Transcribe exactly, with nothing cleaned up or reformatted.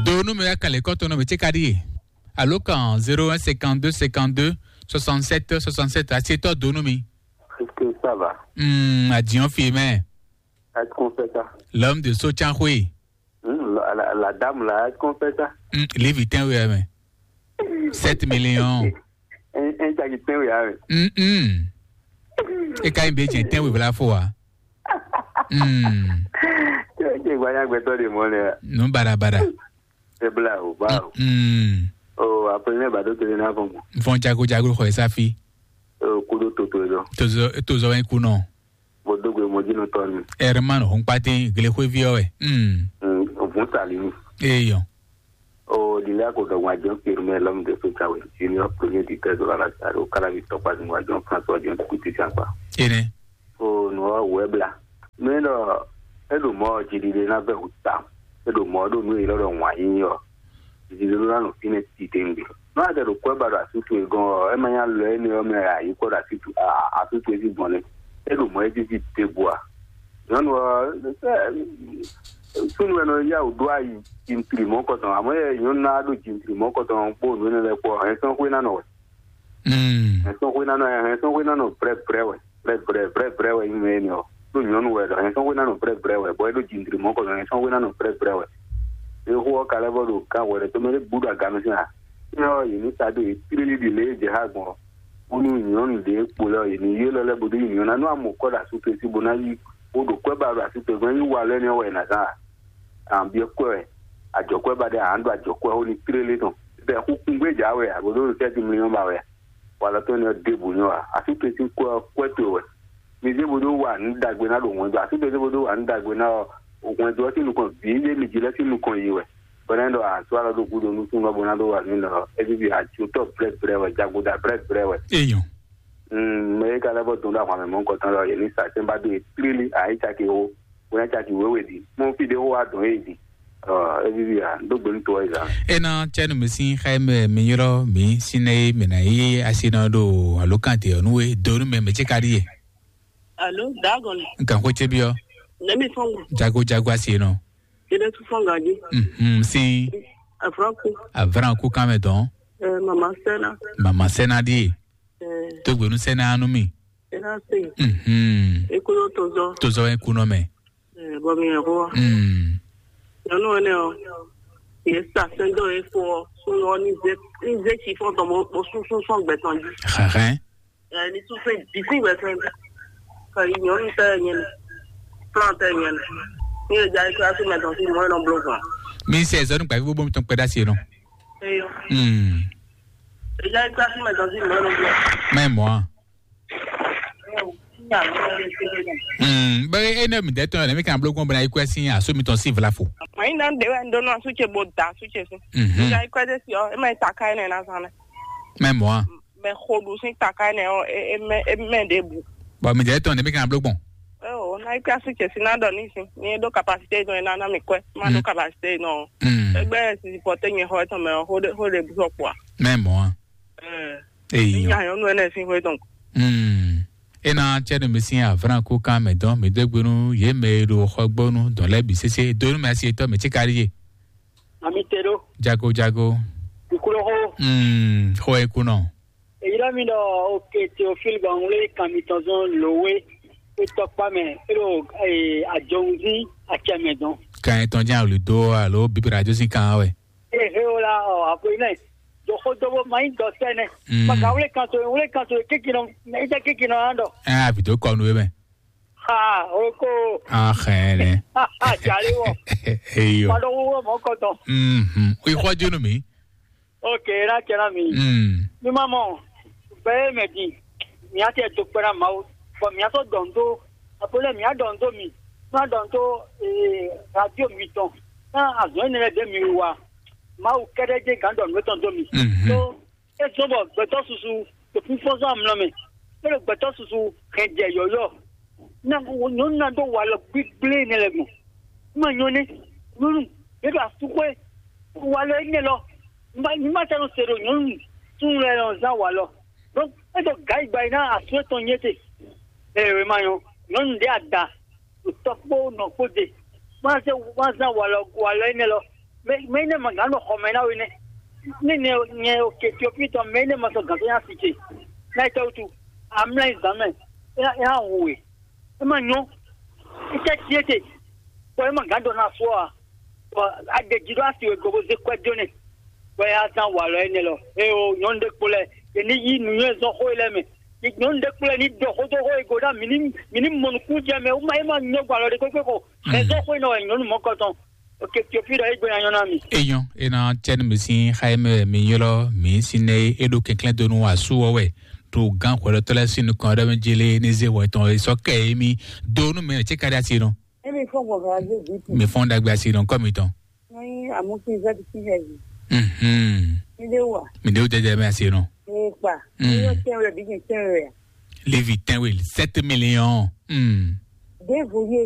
Do nú mi wɛ kalẹ̀ kɔ́tɔn nɔ mi tse ka ɖíe. Alo kan zéro un cinquante-deux cinquante-deux soixante-sept soixante-sept, asi tɔ do nú mi. Est-ce que ça va? Hmm, adiɔn fi mɛ. Est-ce qu'on fait ça? L'homme de Sochanhoé. Hmm, la, la, la dame là, est-ce qu'on fait ça? Hmm, livre tɛn wɛ mɛ. Sept millions. Un, un tagi tɛn wɛ, hein. Hmm, hmm. E ka yin be jɛ tɛn wɛ bla fo wa. Hmm. Tɛn wɛ gbanya gbɛtɔ de mɔ ne. Nu barabara. C'est bla o, ba o. Hmm. Oh, après ne ba do tele na fɔn. Fɔn jago jago xɔ esa fi. Oh, kudo toto do. Tozo tozo wɛn kunɔ. Bo dogbe mo dzi nɔ tɔ ni. Herman Honkpatin glexwevi ɔ wɛ. Hmm. Mm, vun sali ni. Eyɔ. Oh, di la ko dɔgba jɔn firme l'homme de Sochanhoé. Junior premier du treize de la Lazare, au Calavi Tokpa Zingwa John François John Kuti Sankpa. Ene. Oh, no web la. Mais non, e do mo jidide na be huta. E do mo do nu ilo do wa yin yo. Jidide na no fine ti tengbe. No ade do ko ba do asitu e gon, e ma nya lo e ne o me ayi ko do asitu, asitu e si bon ne. E do mo e ti ti te bua. Nyɔnu ɔ, sunu wɛ nɔ ya wò ɖo ayi jintri mɔkɔtɔn, amɔ yɛ nyɔnu na ɖo jintri mɔkɔtɔn kpó nǔ énɛ́ lɛ́ɛ kpó ɔ, hɛn sɔn xwé ná nɔ wɛ. Mm. Hɛn sɔn xwé ná nɔ, hɛn sɔn xwé ná nɔ brɛ brɛ wɛ, brɛ brɛ brɛ brɛ wɛ nyí mɛ énɛ́ ɔ. Ɖó nyɔnu wɛ ɖɔ hɛn sɔn xwé ná nɔ brɛ brɛ wɛ, bɔ é ɖo jintri mɔkɔtɔn, hɛn sɔn xwé ná nɔ brɛ brɛ wɛ. Exó ɔ́ ka lɛ́ vɔ ɖo gán hwɛ ɖé tɔn mɛ ɖé bú ɖo aganu sín a? Énɛ́ ɔ́, yě ní sa dó yě tlílí ɖi lě e jɛ xá gbɔn ɔ́. Bónú nyɔ̌nu ɖě kpo lɛ́ɛ ɔ́, yě ní ylɔ́ lɛ́ bó ɖó nyɔ̌nu ná nú amɔ̌kɔ ɖo asú towe sí bó ná yí bó ɖo kwɛ́ ba ɖo asú towe gbɔn, é nyí wa lɛ́ɛ nɛ́ wɛ è nǎ zán a? Ǎ byɔ́ kwɛ́ wɛ, ajɔ̌kwɛ́ ba ɖé ǎ ɖo ajɔ̌kwɛ́ xó ní tlélé tɔn. Bɛ́ xúkún gbé jǎwe ǎ bó ɖó sɛ́ ti mlí ɔ́ ba wɛ a? Walɔ tɔn énɛ́ ɔ́ ɖěbǔ nyɔ́ ǎ. Asú towe sín kwɛ́ ɔ́, kwɛ́ towe wɛ. Mi zé bó ɖó wa nǔ ɖagbe ná ɖo hwɛndo, asú towe zé bó ɖó wa nǔ ɖagbe ná ɔ́, hwɛndo ɔ́ sín nukɔn bǐ zé mi jí lɛ́ sín nukɔn yi wɛ. Bɔ nɛ́ ɖɔ a sɔ́ alɔ ɖó gúdo nú súnnu ɔ́ bó ná ɖó wa nú nɔ ɔ́, é víví ajotɔ́ blɛ́blɛ́ wɛ, jagoɖa blɛ́blɛ́ wɛ. Eyɔn. Mm, mɛ e ka lɛ́ vɔ dɔn ɖó ahwan mɛ mɔ̌hunkɔtɔn lɔ, yě ní sa sɛ́n ba dó e tlílí, a é caki xó, bó ná caki wěwe ɖi. Mɔ fí ɖé xó wá dɔn é ɖi. Ɔ, é víví a, ɖó gbe nú to ɔ́ zǎn. Ena cɛnu mi sín xá mɛ mi ylɔ́ mi sín nɛ mi ná yí asi nɔ ɖo alókante ɔ́ nú we do nú mɛ mɛ tse ka ɖíe. Alo, dagɔn. Nkan xó tse biɔ. Nɛmi fɔngo. Jago jago asi nɔ. Ede tu fɔnga ji. Mhm, sín Afraku. Avran kú kan mɛ dɔn. Eh, mama sɛna. Mama sɛna ɖíe. Eh, Tó gbenu sɛna anu mi. ena se. Mhm. Ekolo tozɔ. Tozɔ e kunɔ mɛ. Eh, bɔ mi yɛ ko. Mhm. Nyɔnu ene o. Ye sa sɛn dɔ efo o. Sunɔ ni ze ni ze tsi fɔn tɔn mo mo sunsun sɔn gbɛtɔn ji. Xaxɛ. Eh, ni sunsun di sin gbɛtɔn ji. Ka yi nyɔnu tɛ nyɛ ni. Plan tɛ nyɛ ni. Ni e ja ikɔ asu mɛ tɔn si mɔ enɔ blo kɔn. Mi sɛ zɔnu gbavi bobo mi tɔn kpɛ da si nɔ. Eyo. Mhm. E ja ikɔ asu mɛ tɔn si mɔ enɔ blo. Mɛ mɔ a. Mm, bɛ e ne mi dɛ tɔn ne mi kan blo gbɔn bena ikwe sin aso mi tɔn si vla fo. Mayi na de wɛ ndo no asu ce bo da asu ce si. Mhm. Ja ikɔ de si o, e ma ta kai ne na san ne. Mɛ mɔ a. Mɛ xoɖu sin ta kai ne o, e e mɛ e mɛ de bu. Bɔ mi dɛ tɔn ne mi kan blo gbɔn. E o na ikɔ asu ce si na dɔ ni si. Ni e do capacité dɔn e na na mi kɔɛ. Ma do Mm. Capacité nɔ. Mm. Egbe si porte nye xɔ etɔn mɛ o, xo de xo de bu sɔ kpɔa. Mɛ mɔ a. Eh. Eyi. Nya nyɔnu ene sin xo etɔn. Mm. Ena tsɛ no mi sin avran ko kan mɛ dɔn mi dɔ gbenu ye mɛ e ɖo xɔgbɔnu dɔn lɛ bi sese do nu mɛ asi etɔ mɛ tsi kari ye. Ami te ɖo. Jago jago. Kukuɖo xo. Mm. Xɔ e kunɔ. Èyí ɖɔ mi ɖɔ oke Théophile gbɔn ŋlé kan mitɔn zɔn lòwe. Etɔkpa mɛ e ɖo ajɔŋuzí atsɛ mɛ dɔn. Kan etɔn jɛn awuli do alo bibira jo sin kan wɛ. Ehe o la ɔ aƒe nɛ. Jɔxɔ dɔbɔ ma yi dɔ sɛ nɛ. Mm. Maka wlé kan to wlé kan to kékinɔ mɛ yi tɛ kékinɔ hã dɔ. Ɛ avi do kɔ nu ye mɛ. Ha o ko. Axɛ nɛ. Ha ha jali wɔ. Eyo. Padɔ wɔ mɔ kɔtɔ. Mhm. Ixɔ jo nu mi. Ok, na cɛ na mi. Mm. Mi ma mɔ. Bɛɛ mɛ di. Mi a tɛ to kpɛ na Mawu. Bɔn mi a sɔ dɔn do. Aƒe nɛ mi a dɔn do mi. Mi a dɔn do ee radio mi tɔn. Na azɔn yi ne lɛ de mi wa. Mawu kɛɖɛ je gan dɔn nú etɔn do mi. Mhm. So e zɔn bɔ gbɛtɔ susu to fífɔzɔn amlɔ mɛ. E ɖo gbɛtɔ susu hɛn jɛ yɔyɔ. Na nyɔnu na dɔ walɔ gbigble ne lɛ gbɔn. Ma nyɔ ne nyɔnu ne ɖo asuxwe walɔ ne lɔ. Ma ma tɛ no se ɖo nyɔnu tun lɛ lɔ zan walɔ. Donc e dɔ ga yi gba yi na asu etɔn nye te. Ee ma nyɔ nyɔnu ɖe ada. Tɔ kpó nɔ kpó de. Wọ́n á zán wàlọ́ wàlọ́ énɛ́ lɔ. Mɛ mɛ énɛ́ ma gǎn ɖo xɔ mɛ ná we nɛ́. Ní nyɛ nyɛ o ke Etiopie tɔn mɛ énɛ́ ma sɔn gǎn tɔn nyá si ce. Ná yi tɛwutu. Amlá yi zǎn mɛ. É ná é ná hu we. É ma nyɔ́. É tɛ tiɛ te. Bɔ é ma gǎn dɔ ná fɔ a. Bɔ a ɖe jí ɖó asi we gogo zé kwɛ jó nɛ. Bɔ é yá zán walɔ énɛ́ lɔ. É o nyɔ̌nu ɖé kpo lɛ. É ní yí nǔnywɛ́ zɔn xó é lɛ́ɛ mɛ. Nyɔ̌nu ɖé kpo lɛ ní ɖɔ xó dó xó é go ɖá mǐ ní mǐ ní mɔ nukún jɛ mɛ. É ma é ma nyɔ́ gbɔ alɔ ɖé kpékpé ko. Ɛ zɔn xó é nɔ wɛ nyɔ̌nu mɔ̌kɔ tɔn. Ok, Tiopi ɖɔ é gbé nya nyɔ́ ná mi. Eyɔn, ena cɛn mi sin xayeme mi ylɔ mi sin ne e ɖo kɛnklɛn donu asu wɔ wɛ. To gan xwɛlɔtɔ lɛ sin nukɔn ɖe mi jele ne ze wɔ tɔn e sɔ kɛ e mi donu mɛ cɛ ka ɖe asi nɔ. Emi fɔ gbɔgbɔ aze bi tu. Mi fɔn dagbe asi nɔ kɔ mi tɔn. Ni amusi zɛ ti hɛ bi. Mhm. Mi de wa. Mi de o dɛdɛ mi asi nɔ. E kpa. Mm. Ni yo tɛn wɛ bi ni tɛn wɛ. Levi tɛn wɛ sept millions. Mm. De vo ye